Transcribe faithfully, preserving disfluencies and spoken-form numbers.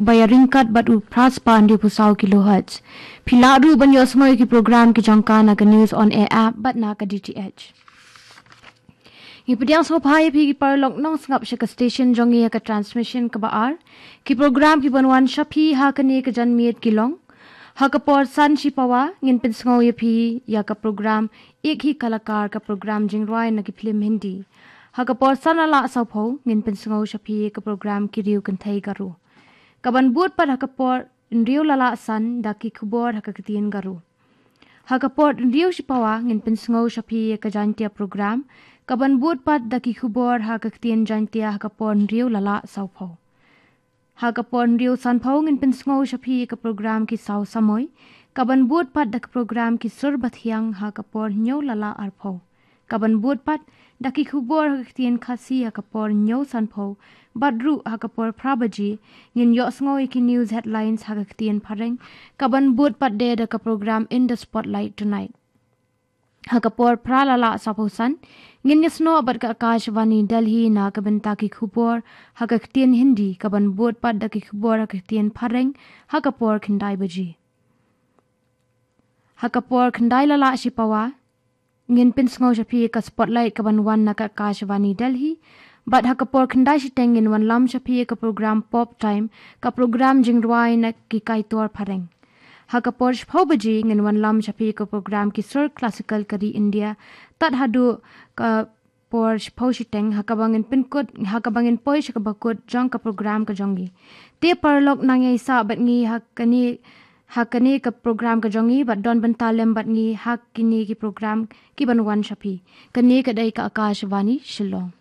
ba ïaryngkat bad u phra spah hynriewphew saw kilohertz. Phi lah ruh ban ïohsngew ïa ki program ki jong ka na ka News on Air app bad na ka D T H. Ngi pdiang sngewbha ïa phi ki paralok nongsngap sha ka station jong ngi ha ka transmission kaba ar. Ki program kiban wan sha phi ha kane ka janmiet ki long: ha ka por san shipawa ngin pynsngew ïa phi ïa ka program Ek Hi Kalakar, ka program jingrwai na ki phlim Hindi. Ha ka por san la lah sawphew ngin pynsngew sha phi ïa ka program Ki Riew Kynthei Garo. Kaban bud pat ha ka por hynriew la lah san da ki khubor ha ka ktien Garo. Ha ka por hynriew shipawa ngin pynsngew sha phi ïa ka Jaintia program, kaban bud pat da ki khubor ha ka ktien Jaintia ha ka por hynriew la lah sawphew. Ha ka por hynriew sanphew ngin pynsngew sha phi ïa ka program Ki Saw Samoi, kaban bud pat da ka program Ki Sur Bathiang ha ka por hynñiew la lah arphew. Kaban bud pat da ki khubor ha ka ktien Khasi ha ka por hynñiew sanphew, bad ruh ha ka por phra baje ngin ïohsngew ïa ki news headlines ha ka ktien Phareng, kaban bud pat de da ka program In the Spotlight Tonight. Ha ka por phra la lah sawphew san ngin ïasnoh bad ka Akashvani Delhi na ka bynta ki khubor ha ka ktien Hindi, kaban bud pat da ki khubor ha ka ktien Phareng ha ka por khyndai baje. Ha ka por khyndai la lah shipawa ngin pynsngew sha phi ïa ka Spotlight kaban wan na ka Akashvani Delhi, bad ha ka por khyndai shiteng ngin wanlam sha phi ïa ka program Pop Time, ka program jingrwai na ki kaitor Phareng. Ha ka por shiphew baje ngin wanlam sha phi ïa ka program Ki Sur Classical ka ri India, tad haduh ka por shiphew shiteng ha kaba ngin pynkut, ha kaba ngin poi sha kaba kut jong ka program ka jong ngi. Te paralok, nang ïai sah bad ngi ha kane, ha kane ka program ka jong ngi bad don bynta lem bad ngi ha kine ki program kiban wan sha phi. Kane ka dei ka Akashvani Shillong.